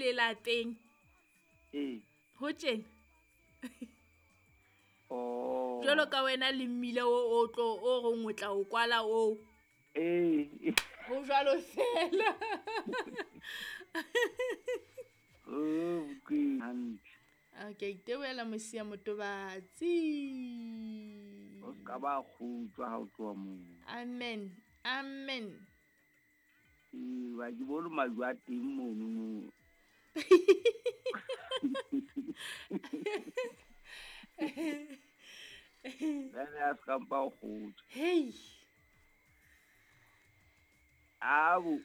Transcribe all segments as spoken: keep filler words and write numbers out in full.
le lapeng. Ee. Ho tjena. Oh. Jwalo ka wena le mmila o o tlo o reng o tla o kwala o. Ee. Ho jwalo fela. Oh, ke hantle. Okay, itebohela Mosia Motobatsi. O ska ba kgutswa ha o tloha moo. Amen. Amen. Ee, wa ke bone majwe a teng mono moo. Jwale a ska mpa o kgutswa. Hey. Abo,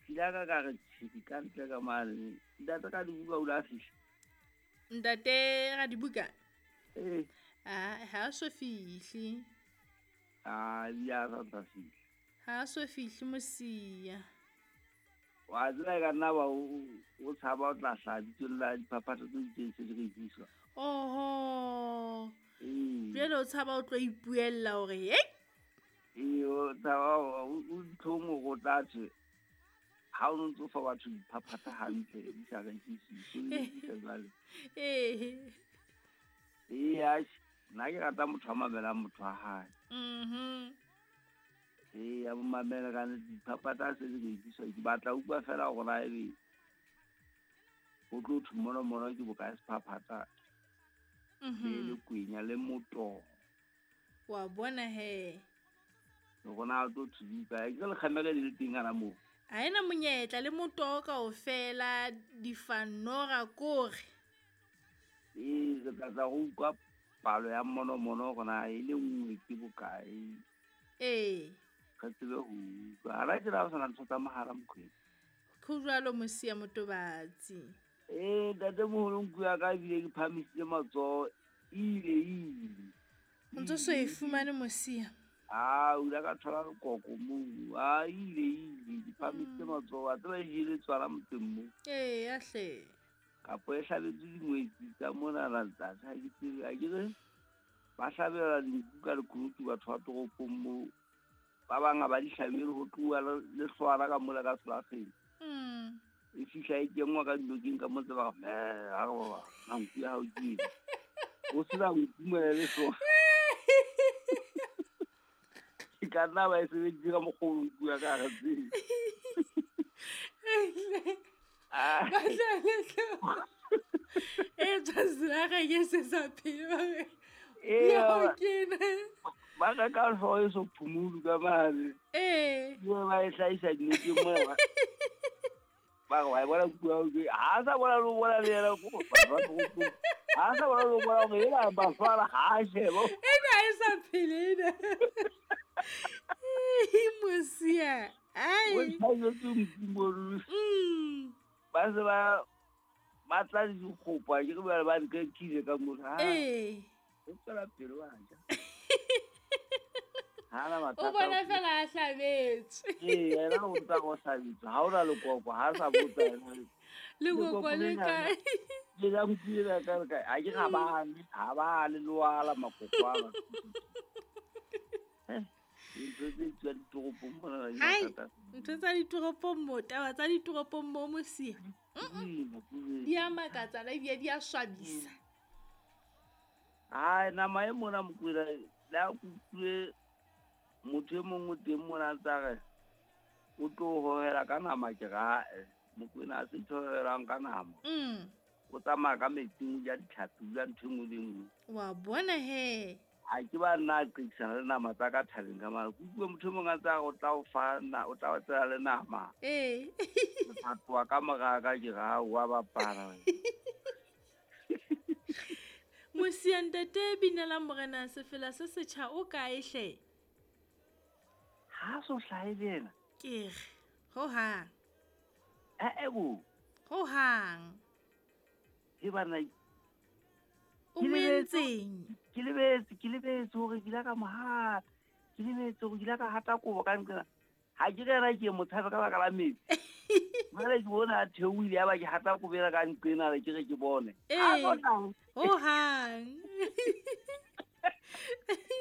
ke ka ka re tjhiki ka ntle ka mane. Ntate ka dibuka o la fihla. Ntate Radibuka. Eh. Ah, ha so fihle. Ah, ya sa tla fihla. Ha so fihle Mosia. Wa tseba ka nna ba o tshaba o tla hla bitso la diphaphatha tse itseng se di rekiswa. Oho. Ee. Jwale o tshaba o tlo ipuella hore hey. Ee, o tshaba o ntlhong go tla tswe. Ha o ntso fa batho diphaphatha hantle di sa rekiswe, di sa jwale. Eh. Ee, atjhe, nna ke rata motho a mamelang motho wa hae. Mhm. Ee, a mo mamela ka nnete, diphaphatha se di rekiswa. Ke batla ho utlwa feela hore na ebe ho tlo thwe mono mono ke bokae sephaphatha. Mhm. Le le kwenya le motoho. Wa bona he. Hore na o tlo thwe di kae. Ke lekgamere le le teng hana moo. Ha ena monyetla le motoho kaofela difanora kore. Ee, re tla tla go utlwa palo ya monomono hore na e le nngwe ke bokae. Ee. Re tsebe ho utlwa. Ha ra tjena ho sana ntho tsa mohala Mokwena. Ho jwalo Mosia Motobatsi. Ee, ntatemoholo nku ya ka ebile ke phahamisitse matsoho, ile ile. O ntso so e fumane Mosia? Ah, o ile ka thola lekoko moo. Ah, ile ile ke phahamisitse matsoho. Wa tseba e jele tswala motseng moo. Ee, ya hle. Kapo e hlabetswe dingwetsi tsa monana ntate, ha ke tsebe. Ha ke re ba hlabela dinku ka lekunutu batho ba toropong moo. Ba bang ha ba di hlabele ho tloha le hlwana ka mola ka selakgeng. Mm. E fihla e kenngwa ka dinokeng ka motse ba re, "Meh, ha re baba, na nku ya hao ke ena." O sena nku mona le hlooho. Ke ka nna ba e sebedisitse ka mokgwa o nku ya ka ha re tsebe. Ah. Ba tla le hlooho. E tswa selakgeng e se sa phele ba re, Ee, "Ya ba- ke ena." Ba reka hlooho e so phumulu ka mane. Ee. Ebe ba e hlahisa dinokeng mona ba. Ba re, wa e bona nku ya hao ke ha sa bona le ho bona le yena ko batho ba toropong. Ha sa bona le ho bona hore ena Bafana ha a sheba. Ena ha e sa phele ena. Mosia. Ai. O hlahetse nku mono. Mm. Ba se ba ba tla le dikgopo, ha ke re jwale ba nkekile ka mona. Ha. Ee. O tswela pele wa ja. Ha na O mathata. bona fela a hlabetswe. Ee, yena o ntsa go hlabetswe. Ha ona lekoko, ha sa botsa yena. Lekoko le kae? Le la nku ena ka re kae? Ha ke ga ba le, ha ba le loala makoko a batho. Eh, dintho tse tswa ditoropong mona di Hai, mathata. ntho tsa ditoropong mo, taba tsa ditoropong mo Mosia. Di a makatsa le ebile di a swabisa. Hai, nama e mona Mokwena, le ha ke utlwile motho e mong o teng mona a ntsa re o tlo hohela ka nama, ke re ae, Mokwena ha se ntho e hohelang ka nama. Mm. O tsamaya ka metsing, o ja ditlhapi, o ja ntho e nngwe le e nngwe. Wa bona he. Ha ke ba nna a qekisana le nama tsa ka thabeng ka mane. Ke utlwe motho e mong a ntsa re o tla o fa na, o tla o tsela le nama. Ee. O tla tloha ka mora ka ke re, ha wa bapala wena. Mosia ntate binela morena sefela se setjha o kae hle? Ha so hlahe le yena. Ke re, ho hang. Eh, eh, bo. Ho hang. Ke bana, O ke mo lebetse, entseng? ke lebetse, ke lebetse hore ke ile ka mo hata. Ke lebetse hore ke ile ka hata kobo ka nqena. Ha ke re yena ke mo tshabe ka baka la metsi. Jwale ke bona a theohile, ya ba ke hata kobo ena ka nqena, ke re ke bone. Ee. Ha so hlahe. Ho hang.